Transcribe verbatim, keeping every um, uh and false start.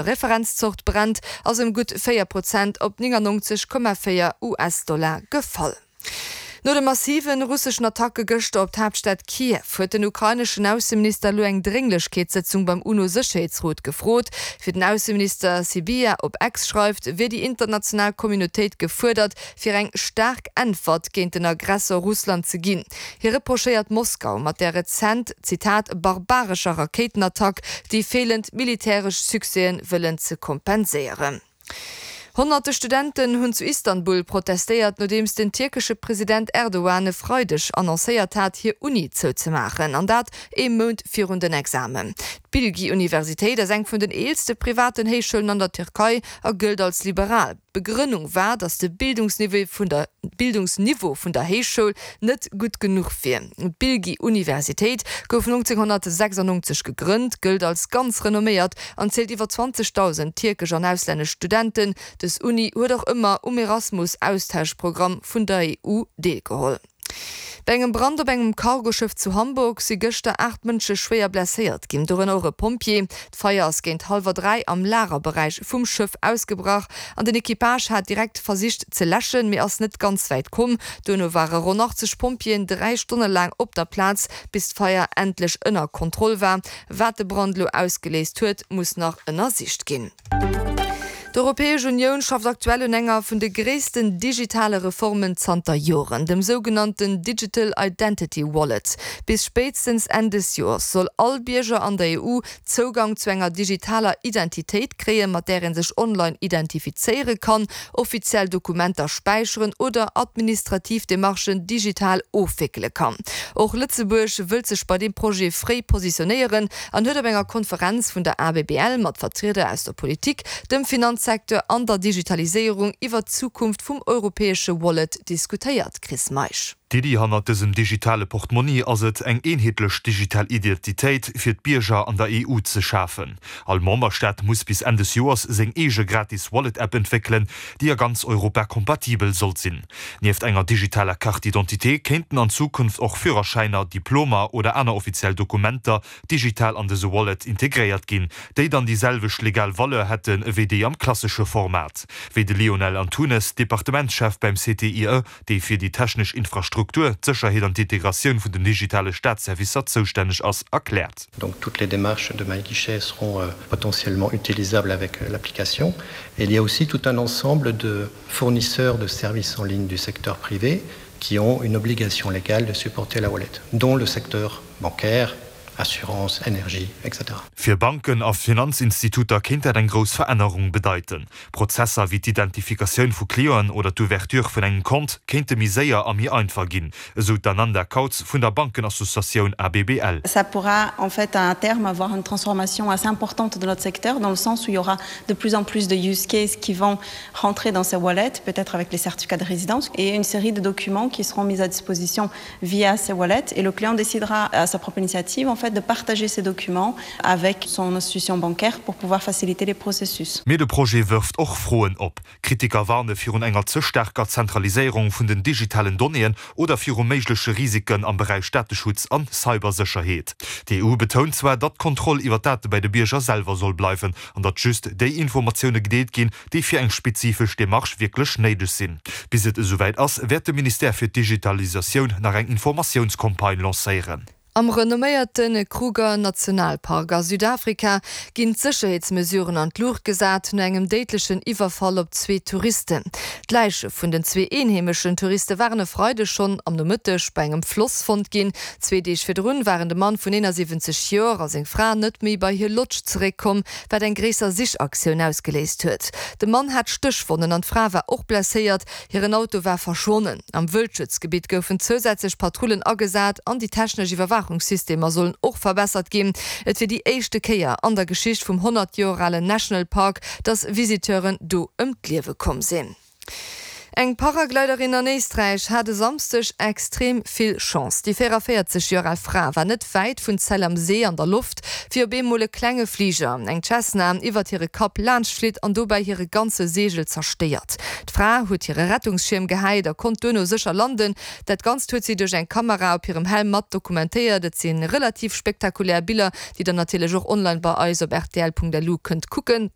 Referenzzort Brent ass ëm gutt véier Prozent op néngannonzeg Komma véier US-Dollar gefall. No de massive russeschen Attacke gëschter op d'Haaptstad Kiew huet den ukraineschen Ausseminister elo eng Drénglechkeetssëtzung beim UNO-Sécherheetsrot gefrot. Wéi den Ausseminister Sybiha op X schreift, wier déi international Communautéit gefuerdert, fir eng staark Äntwert géint den Aggressor Russland ze ginn. Hie reprochéiert Moskau mat der rezent, Zitat, barbarescher Rakéitenattack déi feelend militäresch Succèsen wëllen ze kompenséieren. Honnerte Studenten hunn zu Istanbul protestéiert, nodeems den tierkesche President Erdogan e Freideg annoncéiert hat, hir Uni zouzemaachen, an dat ee Mount virun den Examen. D'Bilgi-Universitéit ass eng vun den eelste privaten Héichschoulen an der Tierkei a gëllt als liberal. D'Begrënnung war, datt de Bildungsniveau vun der Bildungsniveau vun der Héichschoul net gutt genuch wier. D'Bilgi-Universitéit gouf nonzénghonnertsechsannonzeg gegrënnt, gëllt als ganz renomméiert an zielt iwwer zwanzegdausend tierkesch an auslännesch Studenten. Dës Uni huet och ëmmer um Erasmus-Austauschprogramm vun der E U deelgeholl. Bei engem Brand op engem Cargoschëff zu Hamburg si gëschter aacht Mënsche schwéier blesséiert ginn, dorënner och e Pompjee. D'Feier ass géint hallwer dräi am Lagerberäich vum Schëff ausgebrach an den Equipage hat direkt versicht ze läschen, mee ass net ganz wäit komm. Duerno ware ronn achtzeg Pompjeeën dräi Stonne laang op der Plaz, bis d'Feier endlech ënner Kontroll war. Wat de Brand elo ausgeléist huet, muss nach ënnersicht ginn. D'Europäesch Unioun schafft aktuell un enger vun de gréissten digitale Reformen zanter Joren, dem sougenannten Digital Identity Wallet. Bis spéitstens Enn des Joers soll all Bierger an der E U Zougang zu enger digitaler Identitéit kréien, mat där ee sech online identifizéiere kann, offiziell Dokumenter späicheren oder administrativ Demarchen digital ofwéckele kann. Och Lëtzebuerg wëllt sech bei deem Projet fréi positionéieren an huet op enger Konferenz vun der A B B L mat Vertrieder aus der Politik, dem Finanzsecteur an der Digitaliséierung iwwer d'Zukunft vum europäesche Wallet diskutéiert. Chris Meisch. D'Iddi hannert dësem digitale Portmonni ass et, eng eenheetlech digital Identitéit fir d'Bierger an der E U ze schafen. All Memberstaat muss bis Enn des Joers seng eege gratis Wallet-App entwéckelen, déi a ganz Europa kompatibel soll sinn. Nieft enger digitaler Carte d'identité kéinten an Zukunft och Führerschäiner, Diplomer oder aner offiziell Dokumenter digital an dëse Wallet integréiert ginn, déi dann déi selwecht legal Valeur hätten ewéi déi am klassesche Format. Wéi de Lionel Antunes, Departementschef beim C T I E, dee fir déi technesch Infrastruktur, d'Sécherheet an d'Integratioun vun den digitale Staatsservicer zoustänneg ass, erkläert. Donc toutes les démarches de MyGuichet seront euh, potentiellement utilisables avec euh, l'application. Et il y a aussi tout un ensemble de fournisseurs de services en ligne du secteur privé qui ont une obligation légale de supporter la wallet, dont le secteur bancaire, assurance, énergie, et cetera Fir Banken a Finanzinstituter kéint dat eng grouss Verännerung bedeiten. Prozesser wéi d'Identifikatioun vu Clienten oder d'Ouverture vun engem Kont kéinte méi séier a méi einfach ginn, esou d'Ananda Kautz vun der Bankenassociatioun A B B L. Ça pourra en fait à terme avoir une transformation assez importante de notre secteur dans le sens où il y aura de plus en plus de use cases qui vont rentrer dans ces wallets, peut-être avec les certificats de résidence et une série de documents qui seront mis à disposition via ces wallets et le client décidera à sa propre initiative en fait de partager ces documents avec son institution bancaire pour pouvoir faciliter les processus. Mee de Projet wërft och Froen op. Kritiker warne virun enger ze staarker Zentraliséierung vun den digitalen Donnéeën oder viru méigleche Risiken am Beräich Dateschutz an Cybersécherheet. D'E U betount zwar, datt d'Kontroll iwwer d'Date bei de Bierger selwer soll bleiwen an datt just déi Informatioune gedeelt ginn, déi fir eng spezifesch Demarche wierklech néideg sinn. Bis et esouwäit ass, wäert de Ministère fir d'Digitalisatioun nach eng Informatiounscampagne lancéieren. Am renomméierte Kruger Nationalpark a Südafrika ginn d'Sécherheetsmesuren an d'Luucht gesat no engem déidlechen Iwwerfall op zwee Touristen. D'Läiche vun den zwee eenheemeschen Touriste waren e Freideg schonn am Nomëtteg bei engem Floss fonnt ginn. Zwee Deeg virdrun waren de Mann vun eenansiwwenzeg Joer a seng Fra net méi bei hir Lodge zeréckkomm, wat eng gréisser Sichaktioun ausgeléist huet. De Mann hat Stéchwonnen an d'Fra war och blesséiert, hiren Auto war verschwonnen. Am Wëldschutzgebitt goufen zousätzlech Patrullen agesat an déi technesch Iwwerwaachungssystemer sollen och verbessert ginn. Et wier déi éischte Kéier an der Geschicht vum honnert Joer alen National Park, dass Visiteuren do ëm d'Liewe komm sinn. Eng Paragliderin an Éisträich hat e Samschdeg extrem vill Chance. Déi véieranvéierzeg Joer al Fra war net wäit vun Zell am See an der Loft, wéi op eemol e klenge Fliger, eng Cessna, iwwert hire Kapp laanscht flitt an dobäi hire ganze Seegel zerstéiert. D'Fra huet hire Rettungsschierm gehäit a konnt duerno sécher landen. Dat Ganzt huet si duerch eng Kamera op hirem Helm mat dokumentéiert. Et si relativ spektakulär Biller, déi der natierlech och online bei eis op rtl Punkt lu kënnt kucken.